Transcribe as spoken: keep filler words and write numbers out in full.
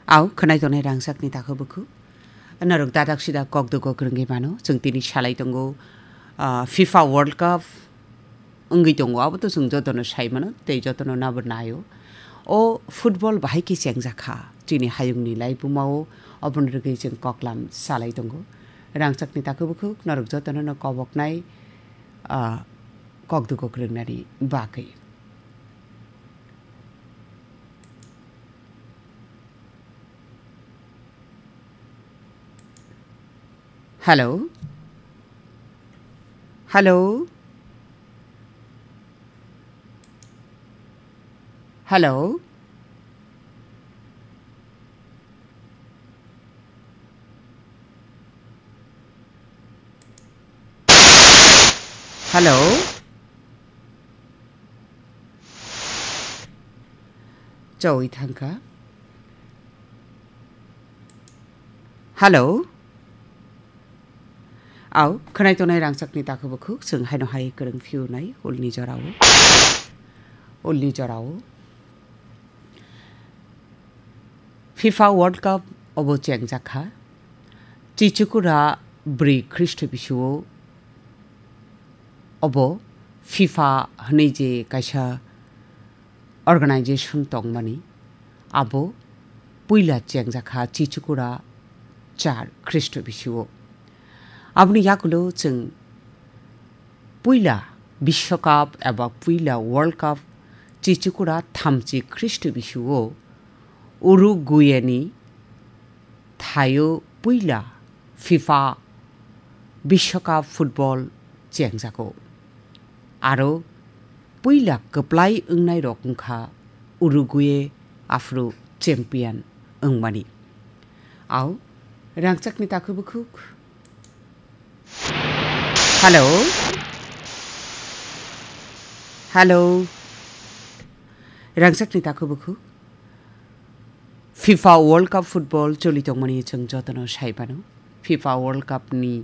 Au, khwnai tongnai rangchakni takhuk bukhuk. Norok dadak sida kok dugo kwrwngwi mano. Chwng tini salai tongo, ah, FIFA World Cup wngwi tongo. Abo to chwng jotono sai mano, tei jotono nabo naio. O football bahai khe chengjak kha. Chini hayungni laibumao oboni rwgwi chwng koklam salai tongo. Rangchakni takhuk bukhuk, norok jotono no koboknai, ah, kok dugo kwrwngnani bagwi. Hello? Hello? Hello? Hello? Chawi thangkha. Hello? Au, khwnai tongnai rangchakni takhuk bukhuk, chwng haino hai kwrwng phiunai ulni jorao. Ulni jorao. FIFA World Cup obo chengjak kha. Chichukura bwrwi Khristo bisuo obo FIFA hwnwi je kaisa organization tongmani, abo puila chengjak kha Chichukura char Khristo bisuo. Aboni yakulo chwng puila Biswakap eba puila World Cup Chichukura thamchi Khristo bisuo Uruguayni thaio puila FIFA Biswakap football chengjago. Aro puila kwplai wngnai rok wngkha Uruguay, aphuru champion wngmani. Au, rangchakni takhuk bukhuk. Hello? Hello? Rangchakni takhuk bukhuk. FIFA World Cup football choli tongmani chwng jotono sai mano. FIFA World Cup ni